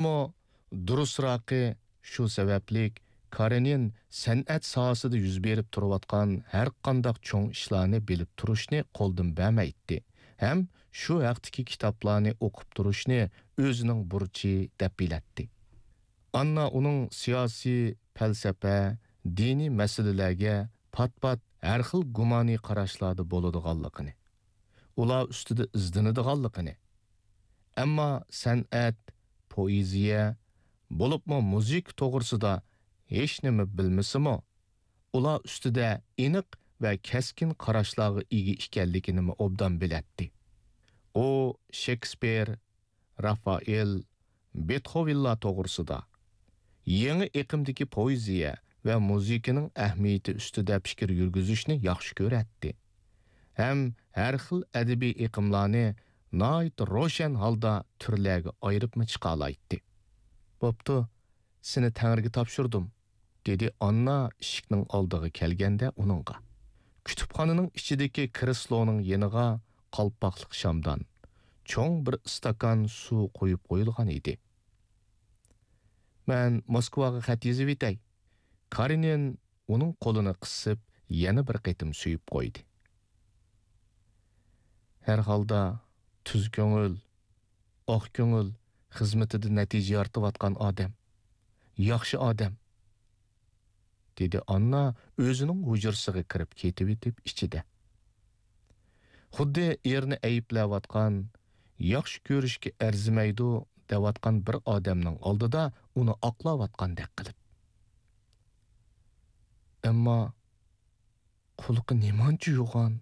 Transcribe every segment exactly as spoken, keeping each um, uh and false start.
بولۇپمۇ، دۇرۇسراقى، شۇ سەۋەبلىك كارېنىن سەنئەت ساھەسىدە يۈز بېرىپ تۇرۇۋاتقان ھەرقانداق چوڭ ئىشلارنى بىلىپ تۇرۇشنى قولدىن بەرمەيتتى ھەم شۇ ھەقتىكى كىتابلارنى ئوقۇپ تۇرۇشنى ئۆزىنىڭ بۇرچى دەپ بىلەتتى. ئاننا ئۇنىڭ سىياسىي، پەلسەپە، دىنىي مەسىلىلەرگە پات-پات ھەر خىل گۇمانىي قاراشلاردا بولىدىغانلىقىنى، ئۇلار ئۈستىدە ئىزدىنىدىغانلىقىنى، ئەمما سەنئەت، پوئېزىيە، بولۇپمۇ مۇزىكا توغرىسىدا ھېچنېمە بىلمىسىمۇ، ئۇلار ئۈستىدە ئېنىق ۋە كەسكىن قاراشلارغا ئىگە ئىكەنلىكىنىمۇ ئوبدان بىلەتتى. ئۇ شېكسپىر، رافائېل، بېتخوۋېنلار توغرىسىدا، يېڭى ئېقىمدىكى پوئېزىيە ۋە مۇزىكىنىڭ ئەھمىيىتى ئۈستىدە پىكىر يۈرگۈزۈشنى ياخشى كۆرەتتى ھەم ھەر خىل ئەدەبىي ئېقىملارنى ناھايىتى روشەن ھالدا تۈرلەرگە ئايرىپمۇ چىقالايتتى. بوپتۇ، سېنى تەڭرىگە تاپشۇردۇم، دېدى ئاننا ئىشىكنىڭ ئالدىغا كەلگەندە ئۇنىڭغا. كۇتۇپخانىنىڭ ئىچىدىكى كرېسلونىڭ يېنىغا قالپاقلىق شامدان، چوڭ بىر ئىستاكان سۇ قويۇپ قويۇلغان ئىدى. مەن موسكۋاغا خەت يېزىۋېتەي. كارېنىن ئۇنىڭ قولىنى قىسىپ، يەنە بىر قېتىم سۆيۈپ قويدى. ھەر ھالدا، تۈز كۆڭۈل، ئاق كۆڭۈل، خىزمىتىدە نەتىجە يارىتىۋاتقان ئادەم، ياخشى ئادەم، دېدى ئاننا ئۆزىنىڭ ھۇجرىسىغا كىرىپ كېتىۋېتىپ ئىچىدە. خۇددى ئېرىنى ئەيىبلەۋاتقان، ياخشى كۆرۈشكە ئەرزىمەيدۇ دەۋاتقان بىر ئادەمنىڭ ئالدىدا ئۇنى ئاقلاۋاتقاندەك قىلىپ. ئەمما قۇلىقى نېمانچە يوغان،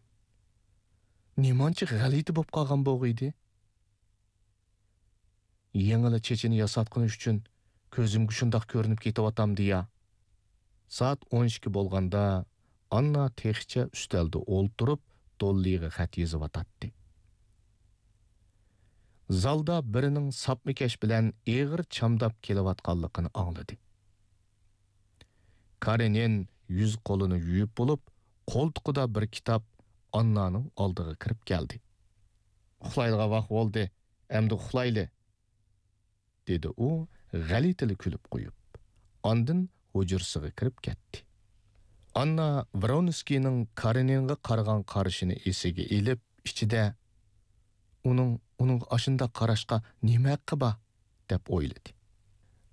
نېمانچە غەلىتە بولۇپ قالغان بولغىيدى؟ يېڭىلا چېچىنى ياساتقىنى ئۈچۈن كۆزۈمگە شۇنداق كۆرۈنۈپ كېتىۋاتامدۇ يا؟ سائەت ئون ئىككى بولغاندا، ئاننا تېخىچە ئۈستەلدە ئولتۇرۇپ، دوللىغا خەت يېزىۋاتاتتى. زالدا بىرىنىڭ ساپمىكەش بىلەن ئېغىر چامداپ كېلىۋاتقانلىقىنى ئاڭلىدى. كارېنىن يۈز قولىنى يۇيۇپ بولۇپ، قولتۇقىدا بىر كىتاب ئاننانىڭ ئالدىغا كىرىپ كەلدى. «ئۇخلايدىغان ۋاقىت بولدى، ئەمدى ئۇخلايلى.» دېدى ئۇ غەلىتىلا كۈلۈپ قويۇپ. ئاندىن ھۇجرىسىغا كىرىپ كەتتى. ئاننا ۋرونسكىينىڭ كارېنىنغا قارىغان قارىشىنى ئېسىگە ئېلىپ، ئىچىدە، «ئۇنىڭ، ئۇنىڭغا ئاشۇنداق قاراشقا نېمە ھەققى بار؟» دەپ ئويلىدى.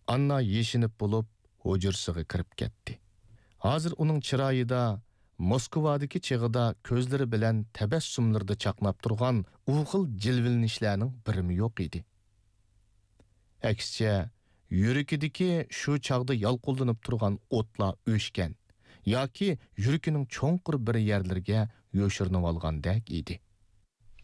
ئاننا يېشىنىپ بولۇپ، ھۇجرىسىغا كىرىپ كەتتى. ھازىر ئۇنىڭ چىرايىدا موسكۋادىكى چېغىدا كۆزلىرى بىلەن تەبەسسۇملىرىدا چاقناپ تۇرغان ئۇ خىل جىلۋىلىنىشلەرنىڭ بىرىمۇ يوق ئىدى. ئەكسىچە، يۈرىكىدىكى شۇ چاغدا يالقۇنلىنىپ تۇرغان ئوتلار ئۆچكەن ياكى يۈرىكىنىڭ چوڭقۇر بىر يەرلىرىگە يوشۇرۇنۇۋالغاندەك ئىدى.